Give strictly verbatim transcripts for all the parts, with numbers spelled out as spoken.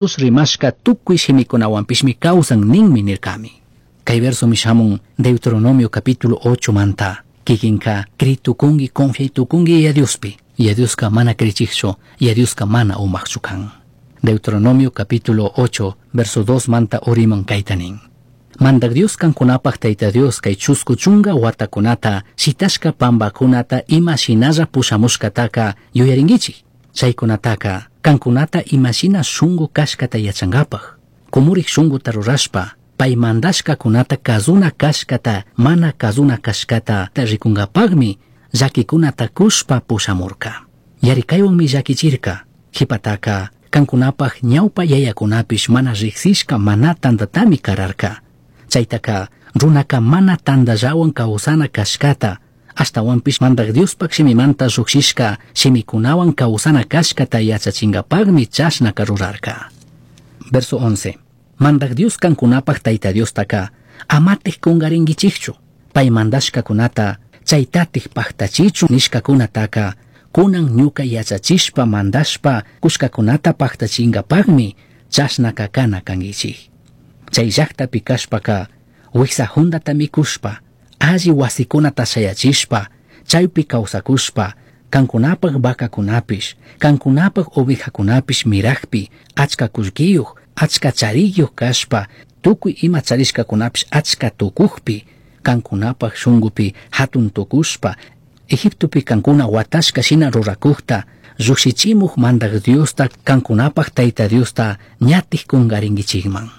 Rimashca tukuy shimikunawanpishmi kawsan ninmi nirkami. Kay versomi shamun Deuteronomio capítulo ocho manta. Kikinka kritukunki, confiaytukunki Yaya Diospi. Yaya Dioska mana krichikchu, Yaya Dioska mana umaqchu kan. Deuteronomio capítulo ocho, verso dos manta uriman kayta nin. Mandak Dios kankunapaj Tayta Dios kay chusku chunga watakunata shitashka pambakunata ima shinalla pushamushkataka yuyarinkichik. Chaykunataka kankunata imashina shungu kashkata yachankapaj. Kumurik shunguta rurashpa, pay mandashkakunata kazuna kashkata mana kazuna kashkata rikunkapajmi llakikunata kushpa pushamurka. Yarikaywanmi llakichirka. Qhipataka kankunapaj ñawpa yayakunapish mana riqsishka mana tantatami kararka. Chaytaka runaka mana tantallawan kawsana kashkata, ashtawanpish Mandak Diospaj shimimanta llujshishka shimikunawan kawsana kashkata yachachinkapajmi chashnaka rurarka. Verso once. Mandak Dios kankunapaj Tayta Diostaka amatik kungarinkichikchu, pay mandashkakunata chaytatik pajtachichu nishkakunataka kunan ñuka yachachishpa mandashpa kushkakunata pajtachinkapajmi chashnaka kana kankichik. Chay llaktapi kashpaka wiksa hundata mikushpa, alli wasikunata shayachishpa, chaypi kawsakushpa, kankunapaj vacakunapish, kankunapaj ovejakunapish mirakpi, achka kullkiyuq, achka chariyuq kashpa, tukuy ima charishkakunapish achka tukukpi, kankunapaj shunkupi hatun tukushpa, Egiptopi kankuna watashka shina rurakukta, llukshichimuj Mandak Diosta, kankunapaj Tayta Diosta ñatik kungarinkichikman.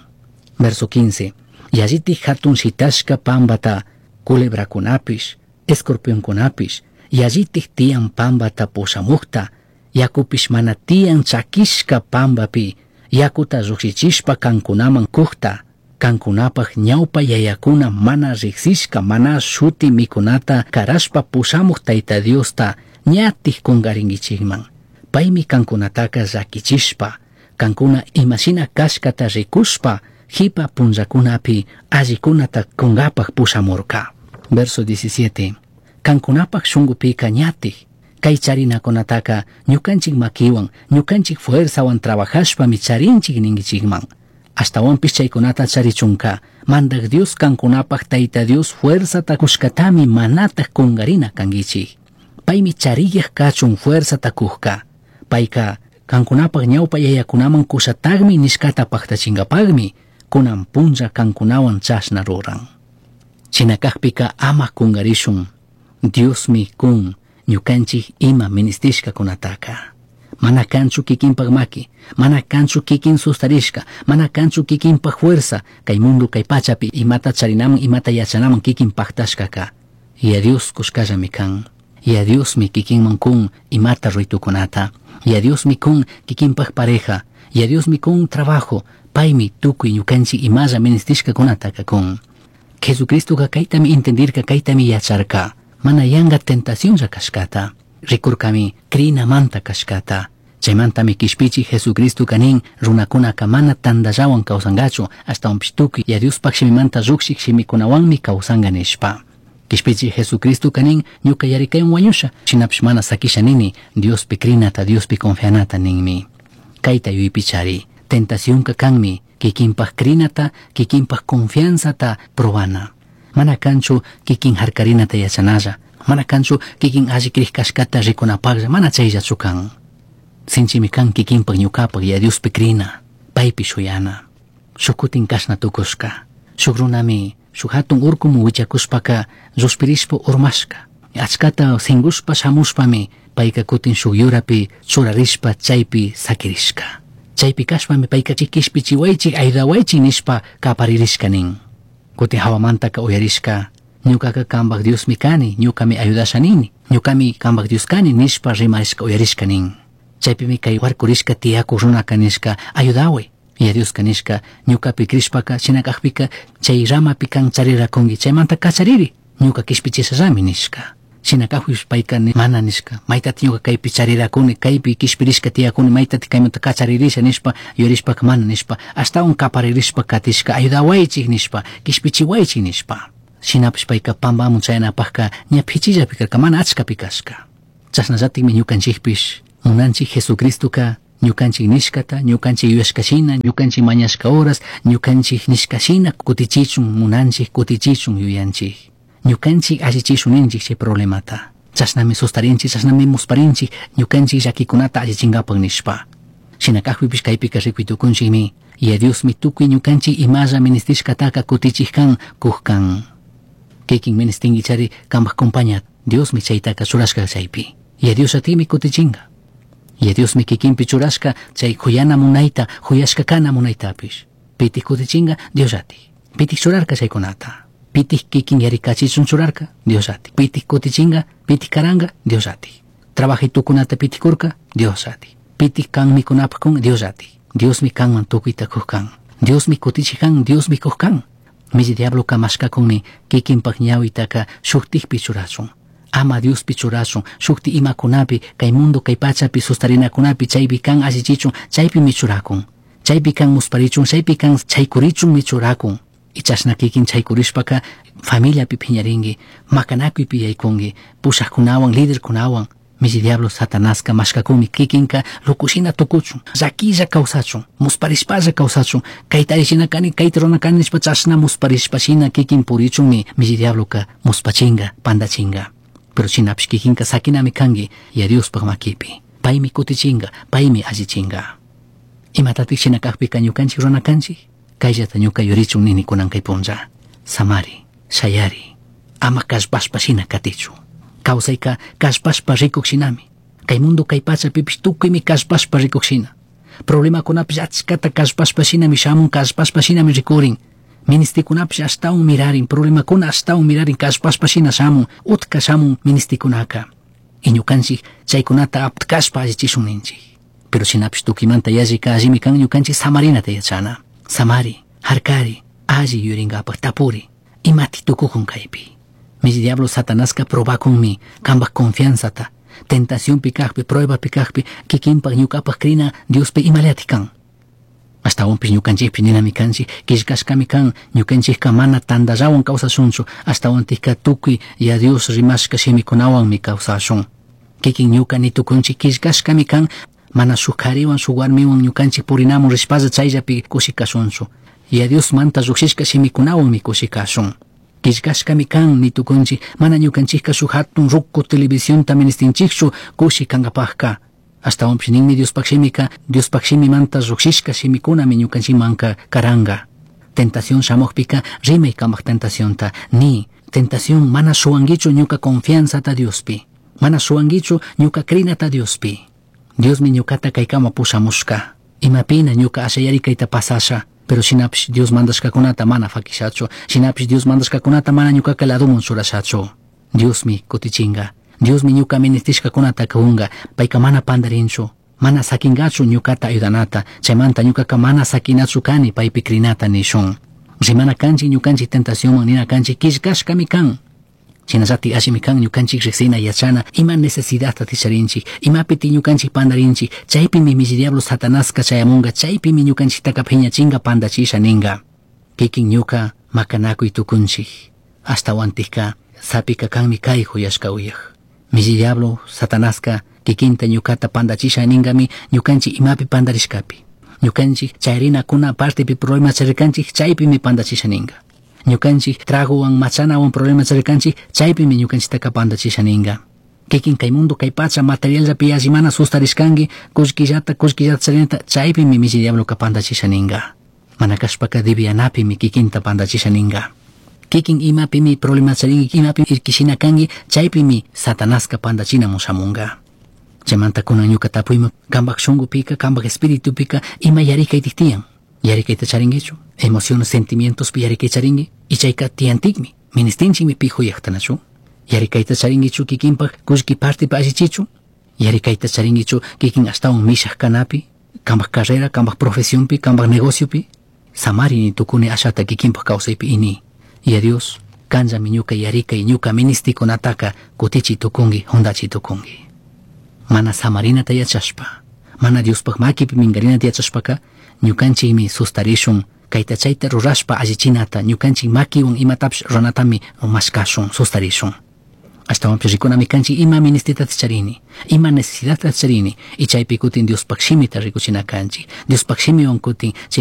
Verso quince. Yallitik hatun shitashka pambata, culebrakunapish, escorpionkunapish, yallitik tiyan pambata pushamukta, yakupish mana tiyan chakishka pambapi, yakuta llukshichishpa kankunaman kukta, kankunapaj ñawpa yayakuna mana riqsishka mana shuti mikunata karashpa pushamuj Tayta Diosta ñatik kungarinkichikman. Paymi kankunataka llakichishpa, kankuna imashina kashkata rikushpa, jipa punllakunapi allikunata kunkapaj pushamurka. Verso diecisiete. Kankunapaj shunkupika ñatik, kay charinakunataka ñukanchik makiwan, ñukanchik fuerzawan trabajashpami charinchik ninkichikman. Ashtawanpish chaykunata charichunka, Mandak Dios kankunapaj Tayta Dios fuerzata kushkatami manataj kungarina kankichik. Paymi chariyaj kachun fuerzata kujka. Payka kankunapaj ñawpa yayakunaman kushatagmi nishkata pajtachinkapagmi, kunan punlla kankunawan chashna ruran. Chinakajpika ama kungarishun, Diosmi kun ñukanchik ima ministishkakunataka. Mana kanchu kikinpaj maki, mana kanchu kikin sustarishka, mana kanchu kikinpaj fuerza, kay mundo kay pachapi imata charinaman imata yachanaman kikin pajtashkaka. Yaya Dios kushkallami kan. Yaya Diosmi kikinman kun imata ruitukunata. Yaya Diosmi kun kikinpaj pareja. Yaya Diosmi kun trabajo. Paymi tukuy ñukanchik imalla ministishkakunataka kun. Jesucristoka kaytami entendirka, kaytami yacharka. Mana yanga tentacionlla kashkata. Rikurkami krinamanta kashkata. Chaymantami kishpichi Jesucristo kanin runakunaka mana tantallawan kawsankachu, ashtawanpish tukuy Yaya Diospaj shimimanta llukshik shimikunawanmi kawsanka nishpa. Kishpichi Jesucristo kanin ñuka yarikaywan wañusha, shinapish mana sakisha nini Diospi krinata, Diospi confianata ninmi. Kayta yuypichari, tentacionka kanmi kikinpaj krinata, kikinpaj confianzata probana. Mana kanchu kikin harkarinata yachanalla, mana kanchu kikin alli krij kashkata rikunapajlla, mana chayllachu kan. Sinchimi kan kikinpaj ñukapaj Yaya Diospi krina, paypi shuyana. Shuk kutin kashna tukushka, shuk runami shuk hatun urkumu wichakushpaka llushpirishpa urmashka. Achkata singushpa shamushpami payka kutin shuk yurapi churarishpa chaypi sakirishka. Chaypi kashpami payka kishpichiwaychik ayudawaychik nishpa kaparirishka nin. Kutin hawamantaka uyarishka, ñukaka kambaj Diosmi kani, ñukami ayudasha nini, ñukami kambaj Dios kani nishpa rimarishka uyarishka nin. Chaypimi kay warkurishka tiyaku runaka nishka, ayudaway. Yaya Dioska nishka, ñukapi krishpaka, shinakajpika, chay ramapi kan charirakunki, chaymanta kachariri, ñuka kishpichishallami nishka. Shinakajpish payka mana nishka, maytati ñuka kaypi charirakuni, kaypi kishpirishka tiyakuni, maytati kaymanta kacharirisha nishpa, yuyarishpaka mana nishpa, ashtawan kaparirishpa katishka, ayudawaychik nishpa, kishpichiwaychik nishpa. Shinapish payka pampamun chayanapajka ña phichillapi karka, mana achkapi kashka. Chashnallatikmi ñukanchikpish munanchik Jesucristoka Ñukanchik nishkata, ñukanchik yuyashkashina, ñukanchik mañashka horas, ñukanchik nishkashina kutichichun munanchik, kutichichun yuyanchik. Ñukanchik allichishun ninchik chay problemata. Chashnami sustarinchik, chashnami musparinchik, ñukanchik llakikunata allichinkapak nishpa. Shina kajpipish kaypika rikuy tukunchikmi, Yaya Diosmi tukuy ñukanchik imalla ministishkataka kutichik kan, kuj kan. Kikin ministinkichari kanpak compaña, Diosmi chaytaka churashka chaypi. Yaya Dios atimi kutichinka. Yaya Diosmi kikinpi churashka chay juyana munayta, juyashka kana munaytapish. Pitik kutichinka, Dios ati. Pitik churarka chaykunata. Pitik kikin yarikachichun churarka, Dios ati. Pitik kutichinka, pitik karanka, Dios ati. Trabajay tukunata pitikurka, Dios ati. Pitik kan mikunapaj kun, Dios ati. Diosmi kanman tukuyta kuj kan. Diosmi kutichik kan, Diosmi kuj kan. Milli diabloka mashkakunmi kikinpak ñawitaka shuktikpi churachun. Ama Diospi churachun, shukti imakunapi, kay mundo kay pachapi sustarinakunapi chaypi kan allichichun, chaypimi churakun. Chaypi kan musparichun, chaypi kan chaykurichunmi churakun. Y chashna kikin chaykurishpaka familiapi phiñarinki, makanakuypi yaykunki, pushakkunawan, liderkunawan. Milli diablo Satanaska mashkakunmi kikinka lukushina tukuchun, llakilla kawsachun, musparishpalla kawsachun, kayta allichina kani, kayta rurana kani nishpa chashna musparishpashina kikin purichunmi milli diabloka muspachinka, pandachinka. Pero shinapish kikinka sakinami kanki Yaya Diospaj makipi. Paymi kutichinka, paymi allichinka. Imatatik shina kakpika ñukanchik rurana kanchik? Kayllata ñuka yurichun nini kunan kay punlla. Samari, shayari, ama kallpashpa shina katichu. Kawsayka kallpashpa rikuk shinami. Kay mundo kay pachapipish tukuymi kallpashpa rikuk shina. Problemakunapish achkata kallpashpa shinami shamun, kallpashpa shinami rikurin. Ministikunapish ashtawan mirarin, problemakuna ashtawan mirarin, kallpashpa shina shamun, utka shamun ministikunaka. Y ñukanchik chaykunata aptkashpa allichishun ninchik. Pero shinapish tukuymanta yallika allimi kan ñukanchik samarinata yachana. Samari, harkari, alli yurinkapak tapuri, imati tukukun kaypi. Milli diablo Satanaska probakunmi kanpak confianzata, tentacionpi kakpi, pruebapi kakpi, kikinpak ñukapak krina Diospi imallati kan. Ashtawanpish ñukanchikpi ninami kanchik, killkashkami kan, ñukanchikka mana tantallawan kawsashunchu, ashtawantikka tukuy Yaya Dios rimashka shimikunawanmi kawsashun. Kikin ñuka nitukunchik killkashkami kan, mana shuk kariwan shuk warmiwan ñukanchik purinamun rishpalla chayllapi kushi kashunchu. Yaya Diosmanta llukshishka shimikunawanmi kushi kashun. Killkashkami kan nitukunchik, mana ñukanchikka shuk hatun ruku televisionta ministinchikchu kushi kankapajka. Ashtawanpish ninmi Diospaj shimika, Diospaj shimimanta llukshishka shimikunami ñukanchikmanka karanka. Tentación shamukpika rimay kamak tentacionta, ni tentación mana shuwankichu ñuka confianzata Diospi, mana shuwankichu ñuka krinata Diospi. Diosmi ñukata kaykama pushamushka, imapina ñuka ashayarikayta pasasha, pero shinapish Dios mandashkakunata mana fakishachu, shinapish Dios mandashkakunata mana ñukaka laduman churashachu. Diosmi kutichinka, Diosmi ñuka ministishkakunata kunka, payka mana pandarinchu, mana sakinkachu ñukata ayudanata, chaymanta ñukaka mana sakinachu kani paypi krinata nishun. Rimana kanchik ñukanchik tentacionman nina kanchik killkashkami kan. Shinallatik allimi kan ñukanchik riksina yachana ima necesidadta ticharinchik, imapiti ñukanchik pandarinchik, chaypimi milli diablo Satanaska chayamunka, chaypimi ñukanchiktaka phiñachinka pandachisha ninka. Kikin ñuka makanakuy tukunchik, ashtawantikka sapika kanmi kay juyashka uyaj. Milli diablo Satanaska kikinta ñukata pandachisha ninkami ñukanchik imapi pandarishkapi. Ñukanchik chayrinakuna partepi problema charirkanchik, chaypimi pandachisha ninka. Ñukanchik tragowan machanawan problema charirkanchik, chaypimi ñukanchiktaka pandachisha ninka. Kikin kay mundo kay pacha materialllapi yalli mana sustarishkanki, kullkillata kullkillata charinata, chaypimi milli diabloka pandachisha ninka. Mana kashpaka divianapimi kikinta pandachisha ninka. Kikin imapimi problema charinki, imapi irkishina kanki, chaypimi Satanaska pandachinamun shamunka. Chaymanta kunan ñuka tapuyman, kanpak shunkupika, kanpak espiritupika, ima yarikaytik tiyan. Yarikayta charinkichu, emociones, sentimientospi yarikay charinki, y chayka tiyantikmi, ministinchikmi pi juyajtanachu. Yarikayta charinkichu kikinpak kullki partipi allichichu, yarikayta charinkichu kikin ashtawan mishaj kanapi, kanpak carrera, kanpak profesionpi, kanpak negociopi. Samari ni tukuni ashata kikinpak kawsaypi ini. Yaya Dios, kanllami ñuka yarikay, ñuka ministikunataka kutichi tukunki, jundachi tukunki. Mana samarinata yachashpa, mana Diospaj makipi minkarinata yachashpaka, ñukanchikmi sustarishun, kayta chayta rurashpa allichinata, ñukanchik makiwan imatapish ruranatami mashkashun, sustarishun. Ashtawanpish rikunami kanchik ima ministitata charini, ima necesidadta charini, y chaypi kutin Diospaj shimita rikuchina kanchik. Diospaj shimiwan kutin chay